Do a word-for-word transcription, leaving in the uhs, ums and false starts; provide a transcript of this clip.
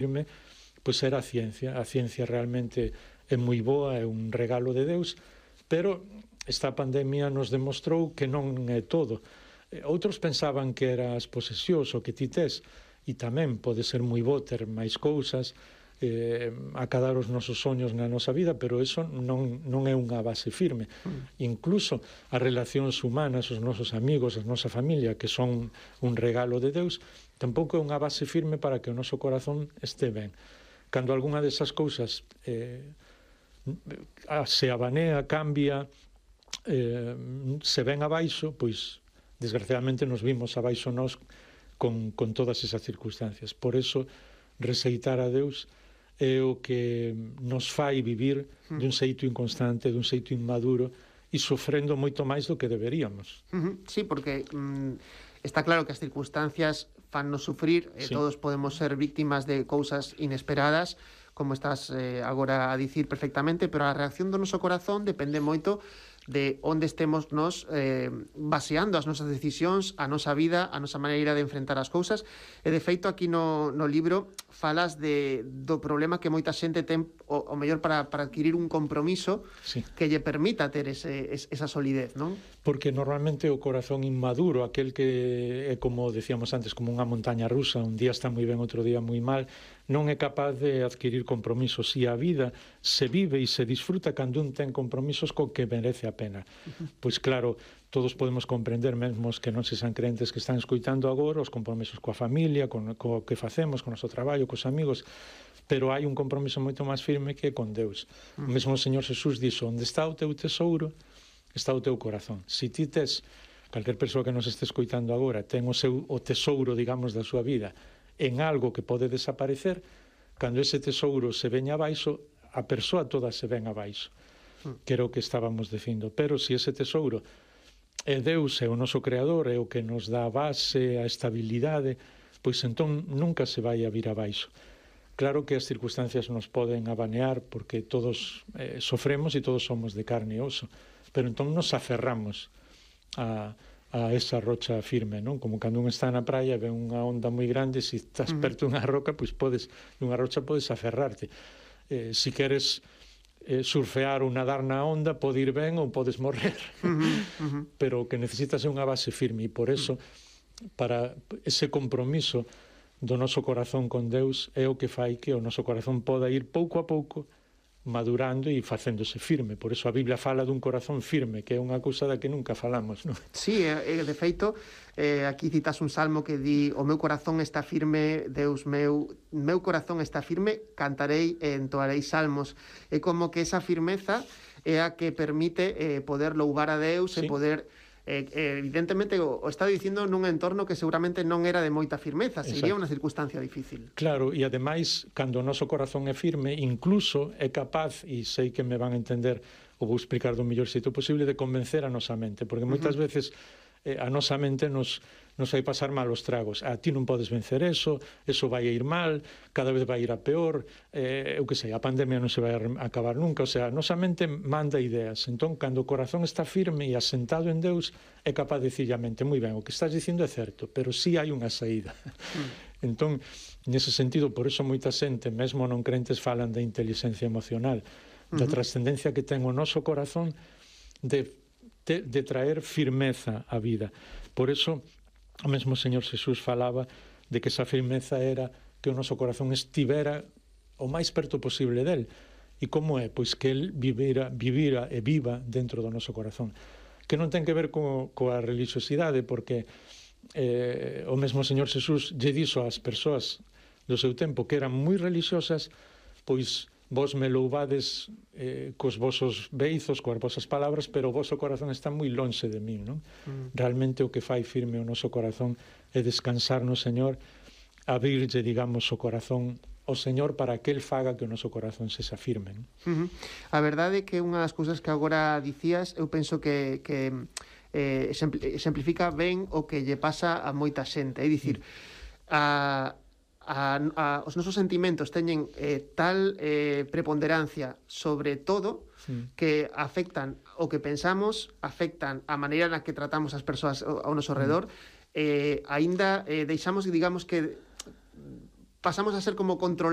firme, pois era a ciencia. A ciencia realmente é moi boa, é un regalo de Deus, pero esta pandemia nos demostrou que non é todo. Outros pensaban que era as posesións o que ti tes, e tamén pode ser moi bo ter máis cousas, eh, acadar os nosos soños na nosa vida, pero eso non, non é unha base firme. Mm. Incluso as relacións humanas, os nosos amigos, a nosa familia, que son un regalo de Deus, tampouco é unha base firme para que o noso corazón este ben. Cando algunha desas cousas eh, se abanea, cambia, eh, se ven abaixo, pois desgraciadamente nos vimos abaixo nós con, con todas esas circunstancias. Por eso, receitar a Deus é o que nos fai vivir dun xeito inconstante, dun xeito inmaduro e sofrendo moito máis do que deberíamos. Uh-huh. Sí, porque mm, está claro que as circunstancias fannos sufrir, sí. eh, todos podemos ser víctimas de cousas inesperadas, como estás eh, agora a dicir perfectamente, pero a reacción do noso corazón depende moito de onde estemos nos eh, baseando as nosas decisións, a nosa vida, a nosa maneira de enfrentar as cousas. E de feito aquí no, no libro falas de, do problema que moita xente ten o, o mellor para, para adquirir un compromiso, sí, que lle permita ter ese, es, esa solidez, non? Porque normalmente o corazón inmaduro, aquel que é como decíamos antes, como unha montaña rusa, un día está moi ben, outro día moi mal, non é capaz de adquirir compromisos, e a vida se vive e se disfruta cando un ten compromisos co que merece a pena. Uh-huh. Pois claro, todos podemos comprender, mesmo os que non se san crentes que están escoitando agora, os compromisos coa familia, con co que facemos, con o noso traballo, cos amigos, pero hai un compromiso moito máis firme que é con Deus. Uh-huh. O mesmo o Señor Jesús dixo, onde está o teu tesouro, está o teu corazón. Se ti tes, calquer persoa que nos este escoitando agora, ten o seu o tesouro, digamos, da súa vida en algo que pode desaparecer, cando ese tesouro se veña abaixo, a persoa toda se ven abaixo, que era o que estábamos dicindo. Pero se ese tesouro é Deus, é o noso creador, é o que nos dá a base, a estabilidade, pois entón nunca se vai a vir abaixo. Claro que as circunstancias nos poden abanear, porque todos eh, sofremos e todos somos de carne e oso, pero entón nos aferramos a a esa rocha firme, non? Como cando un está na praia e ve unha onda moi grande, se estás perto dunha roca, pois podes, dunha rocha podes aferrarte. Eh, se queres eh, surfear ou nadar na onda, pode ir ben ou podes morrer. Uh-huh, uh-huh. Pero o que necesitas é unha base firme, e por eso, para ese compromiso do noso corazón con Deus é o que fai que o noso corazón poda ir pouco a pouco madurando e facéndose firme. Por eso a Biblia fala dun corazón firme, que é unha cousa da que nunca falamos, non? Sí, eh, de feito, eh, aquí citas un salmo que di: o meu corazón está firme, Deus meu, meu corazón está firme, cantarei e entoarei salmos. É como que esa firmeza é a que permite eh, poder louvar a Deus, sí, e poder... Eh, evidentemente o, o está dicindo nun entorno que seguramente non era de moita firmeza, sería unha circunstancia difícil. Claro, e ademais, cando o noso corazón é firme, incluso é capaz, e sei que me van a entender, o vou explicar do mellor xeito posible, de convencer a nosa mente, porque moitas uh-huh. veces eh, a nosa mente nos, nos vai pasar malos tragos. A ti non podes vencer eso, eso vai a ir mal, cada vez vai ir a peor, eh, eu que sei, a pandemia non se vai a acabar nunca, o sea, a nosa mente manda ideas. Entón, cando o corazón está firme e asentado en Deus, é capaz de dicirle a mente, moi ben, o que estás dicindo é certo, pero sí hai unha saída. Mm. Entón, nese sentido, por eso moita xente, mesmo non crentes, falan da inteligencia emocional, da uh-huh. trascendencia que ten o noso corazón de, de, de traer firmeza á vida. Por eso, o mesmo Señor Jesús falaba de que esa firmeza era que o noso corazón estivera o máis perto posible del. E como é? Pois que el vivira, vivira e viva dentro do noso corazón. Que non ten que ver co, coa religiosidade, porque eh, o mesmo Señor Jesús lle dixo ás persoas do seu tempo que eran moi religiosas, pois vos me louvades eh, cos vosos beizos, coas vosas palabras, pero o voso corazón está moi lonxe de min, non? Mm. Realmente o que fai firme o noso corazón é descansar no Señor, abrirlle, digamos, o corazón ao Señor para que el faga que o noso corazón sexa firme, non? Uh-huh. A verdade é que unha das cousas que agora dicías, eu penso que, que eh, exemplifica ben o que lle pasa a moita xente, é dicir, mm. a A, a, os nosos sentimentos teñen eh, tal eh, preponderancia sobre todo, sí, que afectan o que pensamos, afectan a maneira na que tratamos as persoas ao, ao noso redor, eh, aínda eh, deixamos, digamos que pasamos a ser como controlados